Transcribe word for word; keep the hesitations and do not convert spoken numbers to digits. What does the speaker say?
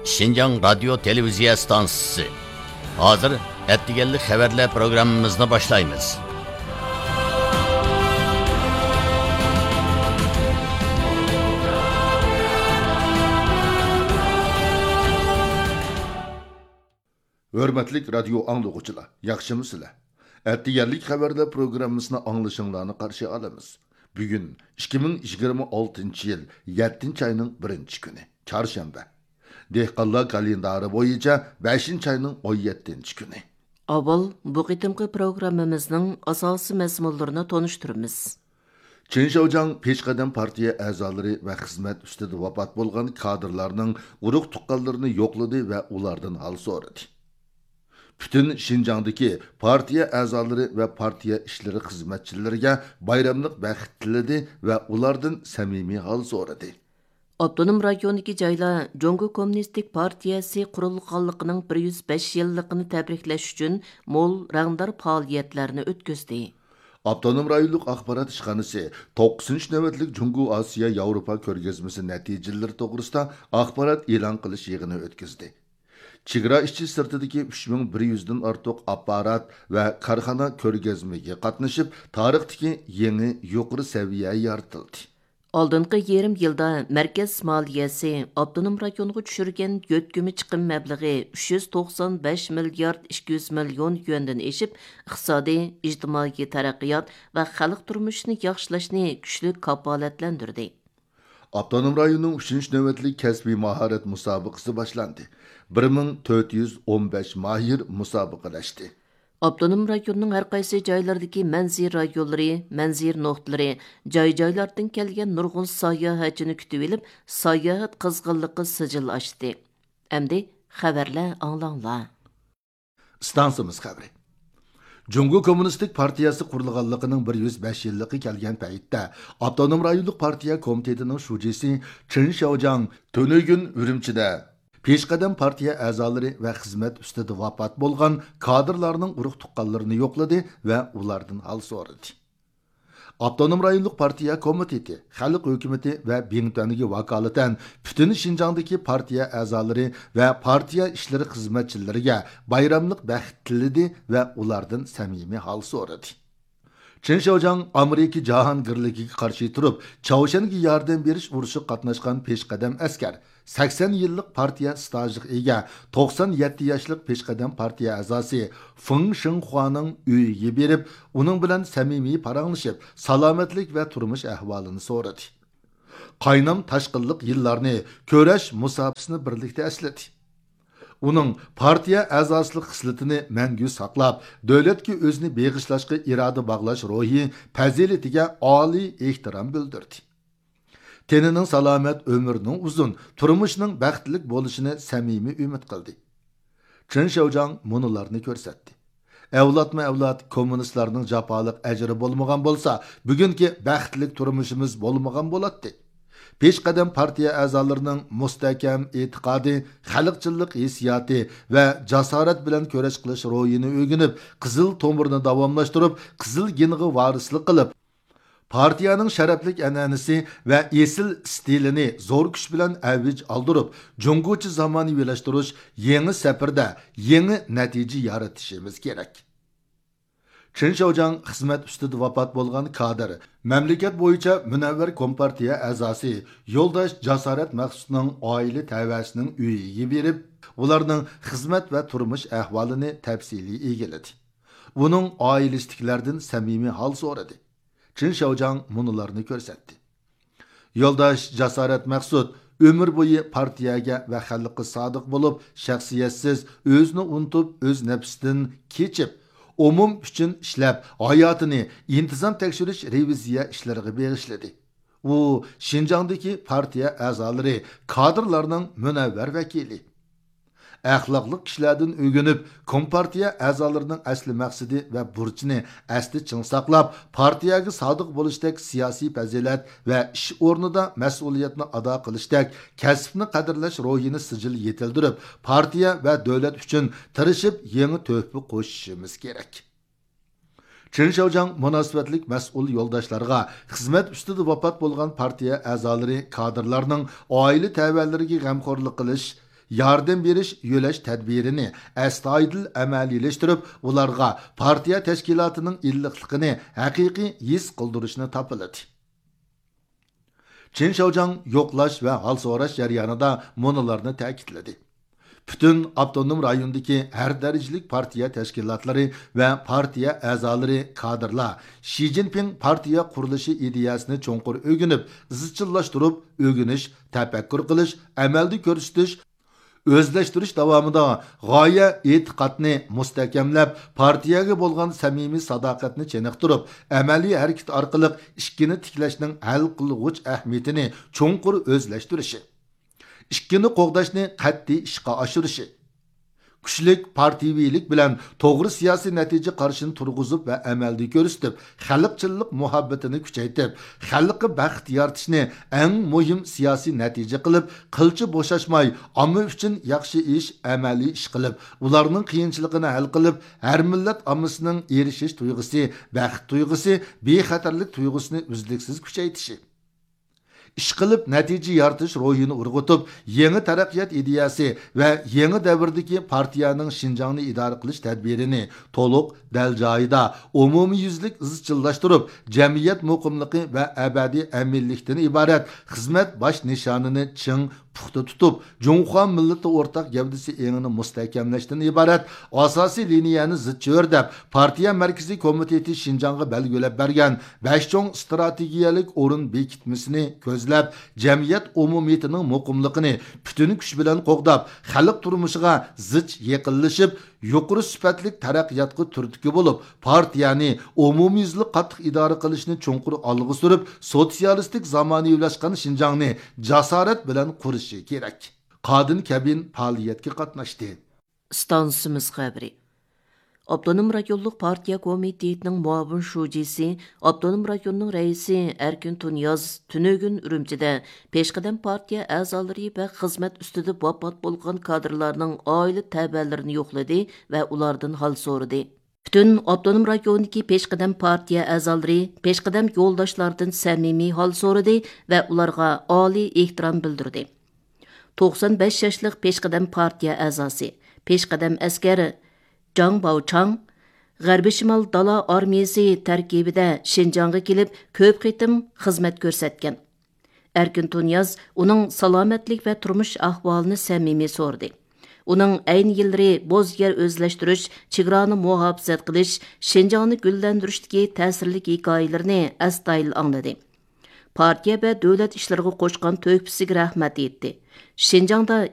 شىنجاڭ رادىيو تېلېۋىزىيە ئىستانسىسى. ھازىر ئەتىگەنلىك خەۋەرلەر پروگراممىمىزنى باشلايمىز. ھۆرمەتلىك رادىيو ئاڭلىغۇچىلار، ياخشىمۇسىلەر؟ ئەتىگەنلىك خەۋەرلەر پروگراممىسىنى ئاڭلىشىڭلارنى قارشى ئالىمىز. بۈگۈن ئىككى مىڭ يىگىرمە ئالتىنچى يىل يەتتىنچى ئاينىڭ بىرىنچى كۈنى، چارشەنبە. دېھقانلار كالېندارى بويىچە بەشىنچى ئاينىڭ ئون يەتتىنچى كۈنى. ئاۋۋال بۇ قېتىمقى پروگراممىمىزنىڭ ئاساسىي مەزمۇنلىرىنى تونۇشتۇرىمىز. چېن شياۋجياڭ پېشقەدەم پارتىيە ئەزالىرى ۋە خىزمەت ئۈستىدە ۋاپات بولغان كادىرلارنىڭ ئۇرۇق تۇغقانلىرىنى يوقلىدى ۋە ئۇلاردىن ھال سورىدى. پۈتۈن شىنجاڭدىكى پارتىيە ئەزالىرى ۋە پارتىيە ئىشلىرى خىزمەتچىلىرىگە بايراملىق بەخت تىلىدى ۋە ئۇلاردىن سەمىمىي ھال سورىدى. ئاپتونوم رايوندىكى جايلار جۇڭگو كوممۇنىستىك پارتىيەسى قۇرۇلغانلىقىنىڭ بىر يۈز بەش يىللىقىنى تەبرىكلەش ئۈچۈن مول رەڭدار پائالىيەتلەرنى ئۆتكۈزدى. ئاپتونوم رايونلۇق ئاخبارات ئىشخانىسى توققۇزىنچى نۆۋەتلىك جۇڭگو ئاسىيا ياۋروپا كۆرگەزمىسى نەتىجىلىرى توغرىسىدا ئاخبارات ئېلان قىلىش يىغىنى ئۆتكۈزدى. چېگرا ئىچى سىرتىدىكى ئۈچ مىڭ بىر يۈزدىن ئارتۇق ئاپپارات ۋە كارخانا كۆرگەزمىگە قاتنىشىپ، تارىختىكى يېڭى يۇقىرى سەۋىيە يارىتىلدى. ئالدىنقى يېرىم يىلدا مەركەز مالىيەسى ئاپتونوم رايونغا چۈشۈرگەن يۆتكىمە چىقىم مەبلىغى ئۈچ يۈز توقسان بەش مىليارد ئىككى يۈز مىليون يۈەندىن ئېشىپ، ئىقتىسادىي، ئىجتىمائىي تەرەققىيات ۋە خەلق تۇرمۇشىنى ياخشىلاشنى كۈچلۈك كاپالەتلەندۈردى. ئاپتونوم رايوننىڭ ئۈچىنچى نۆۋەتلىك كەسپىي ماھارەت مۇسابىقىسى باشلاندى. بىر مىڭ تۆت يۈز ئون بەش ماھىر مۇسابىقىلەشتى. ئاپتونوم رايوننىڭ ھەر قايسى جايلىرىدىكى مەنزىرە رايونلىرى، مەنزىرە نۇقتىلىرى، جاي-جايلاردىن كەلگەن نۇرغۇن ساياھەتچىنى كۈتۈۋېلىپ، ساياھەت قىزغىنلىقى سىجىل ئاشتى. ئەمدى خەۋەرلەر ئاڭلاڭلار. ئىستانسىمىز خەۋىرى. جۇڭگو كوممۇنىستىك پارتىيەسى قۇرۇلغانلىقىنىڭ بىر يۈز بەش يىللىقى كەلگەن پەيتتە، ئاپتونوم رايونلۇق پارتىيە كومىتېتىنىڭ شۇجىسى چېن شياۋجياڭ تۈنۈگۈن ئۈرۈمچىدە پېشقەدەم پارتىيە ئەزالىرى ۋە خىزمەت ئۈستىدە ۋاپات بولغان كادىرلارنىڭ ئۇرۇق تۇغقانلىرىنى يوقلىدى ۋە ئۇلاردىن ھال سورىدى. ئاپتونوم رايونلۇق پارتىيە كومىتېتى، خەلق ھۆكۈمىتى ۋە بىڭتۈەنگە ۋاكالىتەن پۈتۈن شىنجاڭدىكى پارتىيە ئەزالىرى ۋە پارتىيە ئىشلىرى خىزمەتچىلىرىگە بايراملىق بەخت تىلىدى ۋە ئۇلاردىن سەمىمىي ھال سورىدى. چېن شياۋجياڭ ئامېرىكا جاھانگىرلىكىگە قارشى تۇرۇپ، چاۋشيەنگە ياردەم بېرىش ئۇرۇشىغا قاتناشقان پېشقەدەم ئەسكەر، سەكسەن يىللىق پارتىيە ئىستاژىغا ئىگە، توقسان يەتتە ياشلىق پېشقەدەم پارتىيە ئەزاسى فېڭ شېڭخۇانىڭ ئۆيىگە بېرىپ، ئۇنىڭ بىلەن سەمىمىي پاراڭلىشىپ، سالامەتلىك ۋە تۇرمۇش ئەھۋالىنى سورىدى. قاينام تاشقىنلىق يىللارنى، كۈرەش مۇساپىسىنى بىرلىكتە ئەسلىدى. ئۇنىڭ پارتىيە ئەزاسىلىق خىسلىتىنى مەڭگۈ ساقلاپ، دۆلەتكە ئۆزىنى بېغىشلاشقا ئىرادە باغلاش روھى، پەزىلىتىگە ئالىي ئېھتىرام بىلدۈردى. تېنىنىڭ سالامەت، ئۆمرىنىڭ ئۇزۇن، تۇرمۇشنىڭ بەختلىك بولۇشىنى سەمىمىي ئۈمىد قىلدى. چېن شياۋجياڭ مۇنۇلارنى كۆرسەتتى. ئەۋلادمۇ ئەۋلاد كوممۇنىستلارنىڭ جاپالىق ئەجرى بولمىغان بولسا، بۈگۈنكى بەختلىك تۇرمۇشىمىز بولمىغان بولاتتى. پېشقەدەم پارتىيە ئەزالىرىنىڭ مۇستەھكەم ئېتىقادى، خەلقچىللىق ھېسسىياتى ۋە جاسارەت بىلەن كۈرەش قىلىش روھىنى ئۆگىنىپ، قىزىل تومۇرنى داۋاملاشتۇرۇپ، قىزىل گېنغا ۋارىسلىق قىلىپ، پارتىيەنىڭ شەرەپلىك ئەنئەنىسى ۋە ئېسىل ئىستىلىنى زور كۈچ بىلەن ئەۋج ئالدۇرۇپ، جۇڭگوچە زامانىۋىلاشتۇرۇش يېڭى سەپىرىدە يېڭى نەتىجە يارىتىشىمىز كېرەك. چېن شياۋجياڭ خىزمەت ئۈستىدە ۋاپات بولغان كادىر، مەملىكەت بويىچە مۇنەۋۋەر كومپارتىيە ئەزاسى يولداش جاسارەت مەخسۇتنىڭ ئائىلە تەۋەسىنىڭ ئۆيىگە بېرىپ، ئۇلارنىڭ خىزمەت ۋە تۇرمۇش ئەھۋالىنى تەپسىلىي ئىگىلىدى. ئۇنىڭ ئائىلىسىدىكىلەردىن سەمىمىي ھال سورىدى. چېن شياۋجياڭ مۇنۇلارنى كۆرسەتتى. يولداش جاسارەت مەخسۇت ئۆمۈر بويى پارتىيەگە ۋە خەلققە سادىق بولۇپ، شەخسىيەتسىز، ئۆزىنى ئۇنتۇپ، ئۆز نەپسىدىن كېچىپ، ئومۇم ئۈچۈن ئىشلەپ، ھاياتىنى ئىنتىزام تەكشۈرۈش رېۋىزىيە ئىشلىرىغا بېغىشلىدى. ئۇ شىنجاڭدىكى پارتىيە ئەزالىرى، كادىرلارنىڭ مۇنەۋۋەر ۋەكىلى. ئەخلاقلىق كىشىلەردىن ئۆگىنىپ، كومپارتىيە ئەزالىرىنىڭ ئەسلى مەقسىتى ۋە بۇرچىنى ئەستە چىڭ ساقلاپ، پارتىيەگە سادىق بولۇشتەك سىياسىي پەزىلەت ۋە ئىش ئورنىدا مەسئۇلىيەتنى ئادا قىلىشتەك كەسىپنى قەدىرلەش روھىنى سىجىل يېتىلدۈرۈپ، پارتىيە ۋە دۆلەت ئۈچۈن تىرىشىپ، يېڭى تۆھپە قوشۇشىمىز كېرەك. چېن شياۋجياڭ مۇناسىۋەتلىك مەسئۇل يولداشلارغا خىزمەت ئۈستىدە ۋاپات بولغان پارتىيە ئەزالىرى، كادىرلارنىڭ ئائىلە تەۋەلىرىگە غەمخورلۇق قىلىش، ياردەم بېرىش يۆلەش تەدبىرىنى ئەستايىدىل ئەمەلىيلەشتۈرۈپ، ئۇلارغا پارتىيە تەشكىلاتىنىڭ ئىللىقلىقىنى ھەقىقىي ھېس قىلدۇرۇشنى تاپىلىدى. چېن شياۋجياڭ يوقلاش ۋە ھال سوراش جەريانىدا مۇنۇلارنى تەكىتلىدى: پۈتۈن ئاپتونوم رايوندىكى ھەر دەرىجىلىك پارتىيە تەشكىلاتلىرى ۋە پارتىيە ئەزالىرى، كادىرلار شى جىنپىڭ پارتىيە قۇرۇلۇشى ئىدىيەسىنى چوڭقۇر ئۆگىنىپ، ئىزچىللاشتۇرۇپ ئۆگىنىش، تەپەككۇر قىلىش، ئەمەلدە كۆرسىتىش، ئۆزلەشتۈرۈش داۋامىدا غايە ئېتىقادنى مۇستەھكەملەپ، پارتىيەگە بولغان سەمىمىي ساداقەتنى چېنىقتۇرۇپ، ئەمەلىي ھەرىكىتى ئارقىلىق ئىككىنى تىكلەشنىڭ ھەل قىلغۇچ ئەھمىيىتىنى چوڭقۇر ئۆزلەشتۈرۈشى، ئىككىنى قوغداشنى قەتئىي ئىشقا ئاشۇرۇشى، كۈچلۈك پارتىيىۋىلىك بىلەن توغرا سىياسىي نەتىجە قارىشىنى تۇرغۇزۇپ ۋە ئەمەلدە كۆرسىتىپ، خەلقچىللىق مۇھەببىتىنى كۈچەيتىپ، خەلققە بەخت يارىتىشنى ئەڭ مۇھىم سىياسىي نەتىجە قىلىپ، قىلچە بوشاشماي، ئامما ئۈچۈن ياخشى ئىش، ئەمەلىي ئىش قىلىپ، ئۇلارنىڭ قىيىنچىلىقىنى ھەل قىلىپ، ھەر مىللەت ئاممىسىنىڭ ئېرىشىش تۇيغۇسى، بەخت تۇيغۇسى، بىخەتەرلىك تۇيغۇسىنى ئۈزلۈكسىز كۈچەيتىشى. ئىشقىلىپ نەتىجە يارىتىش روھىنى ئۇرغۇتۇپ، يېڭى تەرەققىيات ئىدىيەسى ۋە يېڭى دەۋردىكى پارتىيەنىڭ شىنجاڭنى ئىدارە قىلىش تەدبىرىنى تولۇق، دەل جايىدا، ئومۇميۈزلۈك ئىزچىللاشتۇرۇپ، جەمئىيەت مۇقىملىقى ۋە ئەبەدىي ئەمىنلىكتىن ئىبارەت خىزمەت باش نىشانىنى چىڭ، پۇختا تۇتۇپ، جۇڭخۇا مىللىتى ئورتاق گەۋدىسى ئېڭىنى مۇستەھكەملەشتىن ئىبارەت ئاساسىي لىنىيەنى زىچ چۆرىدەپ، پارتىيە مەركىزىي كومىتېتى شىنجاڭغا بەلگىلەپ بەرگەن بەش چوڭ ئىستراتېگىيەلىك ئورۇن بېكىتمىسىنى كۆزلەپ، جەمئىيەت ئومۇمىيىتىنىڭ مۇقىملىقىنى پۈتۈن كۈچ بىلەن قوغداپ، خەلق تۇرمۇشىغا زىچ يېقىنلىشىپ، يۇقىرى سۈپەتلىك تەرەققىياتقا تۈرتكە بولۇپ، پارتىيەنى ئومۇميۈزلۈك قاتتىق ئىدارە قىلىشنى چوڭقۇر ئالغا سۈرۈپ، سوتسىيالىستىك زامانىۋىلاشقان شىنجاڭنى جاسارەت بىلەن قۇرۇشى كېرەك. قادىن كەبىن پائالىيەتكە قاتناشتى. ئىستانسىمىز خەۋىرى. ئاپتونوم رايونلۇق پارتىيە كومىتېتىنىڭ مۇئاۋىن شۇجىسى، ئاپتونوم رايوننىڭ رەئىسى ئەركىن تۇنىياز تۈنۈگۈن ئۈرۈمچىدە پېشقەدەم پارتىيە ئەزالىرى ۋە خىزمەت ئۈستىدە ۋاپات بولغان كادىرلارنىڭ ئائىلە تەۋەلىرىنى يوقلىدى ۋە ئۇلاردىن ھال سورىدى. پۈتۈن ئاپتونوم رايوندىكى پېشقەدەم پارتىيە ئەزالىرى پېشقەدەم يولداشلاردىن سەمىمىي ھال سورىدى ۋە ئۇلارغا ئالىي ئېھتىرام بىلدۈردى. توقسان بەش ياشلىق پېشقەدەم پارتىيە ئەزاسى، پېشقەدەم ئەسكەر جاڭ باۋچاڭ غەربىي شىمال دالا ئارمىيىسى تەركىبىدە شىنجاڭغا كېلىپ، كۆپ قېتىم خىزمەت كۆرسەتكەن. ئەركىن تۇنىياز ئۇنىڭ سالامەتلىك ۋە تۇرمۇش ئەھۋالىنى سەمىمىي سورىدى. ئۇنىڭ ئەينى يىللىرى بوز يەر ئۆزلەشتۈرۈش، چېگرانى مۇھاپىزەت قىلىش، شىنجاڭنى گۈللەندۈرۈشتىكى تەسىرلىك ھېكايىلىرىنى ئەستايىدىل ئاڭلىدى. پارتىيە ۋە دۆلەت ئىشلىرىغا قوشقان تۆھپىسىگە رەھمەت ئېيتتى. شىنجاڭدا